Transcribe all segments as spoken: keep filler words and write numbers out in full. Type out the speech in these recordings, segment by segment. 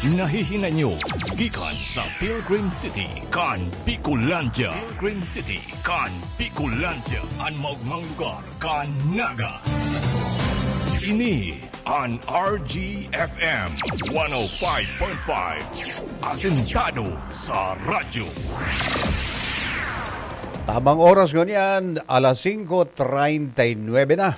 Nahihinanyo gikan sa Pilgrim City kan Bicolandia. Pilgrim City kan Bicolandia, an maogmang lugar kan Naga. Ini an R G F M one oh five point five, asentado sa radyo. Tamang oras ngunyan, alas singko treinta y nuebe na.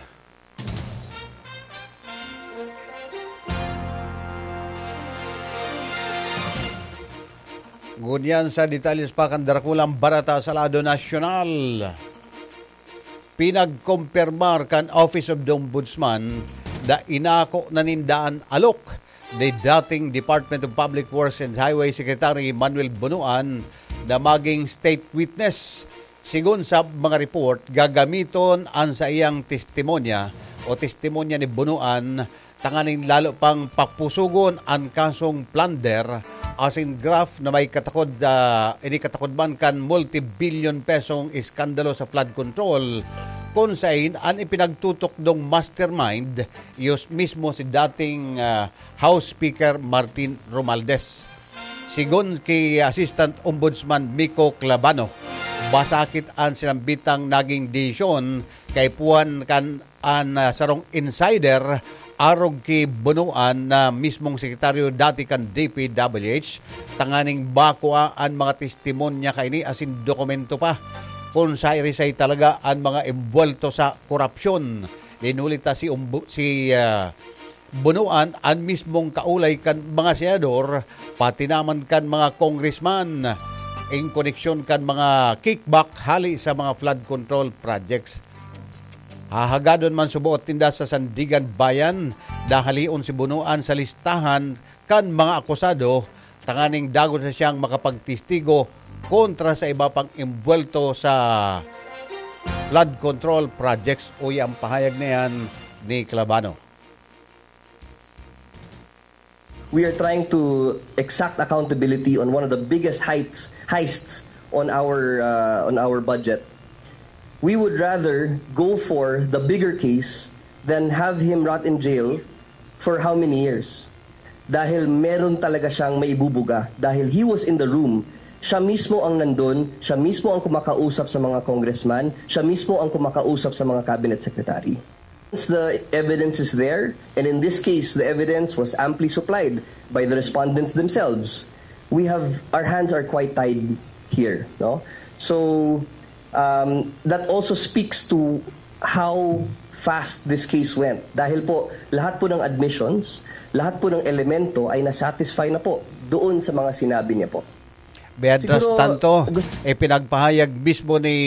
Ngunyan sa detalles pa kan darakulang barata sa lado nasyonal. Pinagkompirmar kan Office of the Ombudsman na inako na ninda an alok ni dating Department of Public Works and Highway Secretary Manuel Bonoan na maging state witness. Sigon sa mga report, gagamiton an saiyang testimonya o testimonya ni Bonoan tanganing lalo pang papusogon an kasong plunder asin graft na may katakod, ah, inikatakod man kan multi-billion pesong iskandalo sa flood control, kun sain an ipinagtutukdong mastermind, iyo mismo si dating, ah, House Speaker Martin Romualdez. Sigon ki Assistant Ombudsman Miko Clavano, masakit an sinambitang naging desisyon kaipuhan kan an, ah, sarong insider arog ki Bonoan na mismong sekretaryo dati kan D P W H, tanganing makua an mga testimonya kaini asin dokumento pa kun siisay talaga an mga embuwelto sa korupsyon. Linulita si Ombu-, si, ah, Bonoan an mismong kaulay kan mga senador, pati naman kan mga congressman, in koneksyon kan mga kickback hali sa mga flood control projects. Hahagadon man suboot ninda sa Sandigan Bayan, dahalion si Bonoan sa listahan kan mga akusado, tanganing dagos na siyang makapagtestigo kontra sa iba pang embuwelto sa flood control projects, uya ang pahayag na yan ni Clavano. We are trying to exact accountability on one of the biggest heights, heists on our uh, on our budget. We would rather go for the bigger case than have him rot in jail for how many years? Dahil meron talaga siyang maibubuga. Dahil he was in the room. Siya mismo ang nandun, siya mismo ang kumakausap sa mga congressman, siya mismo ang kumakausap sa mga cabinet secretary. Once the evidence is there, and in this case, the evidence was amply supplied by the respondents themselves, we have, our hands are quite tied here, no? So, um, that also speaks to how fast this case went. Dahil po, lahat po ng admissions, lahat po ng elemento ay na-satisfy na po doon sa mga sinabi niya po. Mientras tanto, ipinagpahayag mismo ni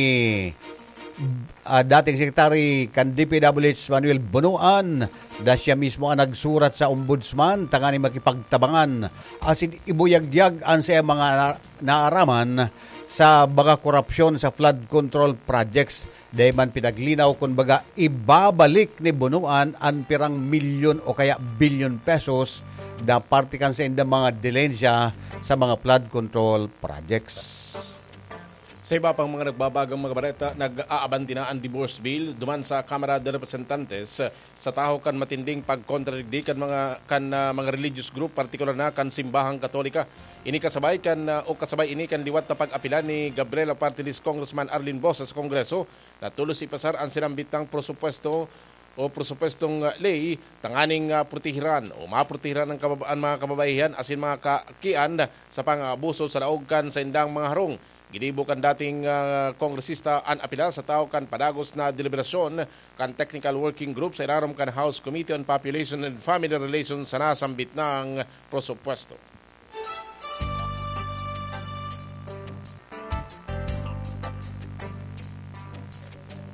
ah, dating Secretary kan D P W H Manuel Bonoan na siya mismo ang nagsurat sa Ombudsman tanganing makipagtabangan asin ibuyagyag an saiyang mga na- naaraman sa mga korupsyon sa flood control projects. Dai man pinaglinaw kun baga ibabalik ni Bonoan an pirang milyon o kaya bilyon pesos na parte kan saindang mga dilensya sa mga flood control projects. Sa iba pang mga nagbabagang mga bareta, nag-aabanti na an divorce bill duman sa Kamara de Representantes sa tahaw kan matinding pagkontradigdi kan mga kan ah, mga religious group, partikular na kan Simbahang Katolika. Ini kasabay kan ah, o kasabay ini kan liwat na pag-apila ni Gabriela Partilis Congressman Arlene Bosa sa Kongreso na tulos ipasar an sinambit nang prosupuesto o prosupuestong ah, ley tanganing ah, protehiran o maprotehiran ang kababa- ang mga kababaihan asin mga kakian sa pang-abuso sa laog kan saindang mga harong. Ginibo kan dating ah, kongresista an apila sa tahaw kan padagos na deliberasyon kan Technical Working Group sa ilarom kan House Committee on Population and Family Relations sa nasambit nang prosupuesto.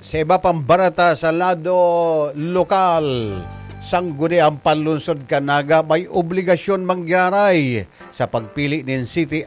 Sa iba pang barata sa lado lokal, sangguniang panlunsod kan Naga may obligasyon manggaray sa pagpili nin city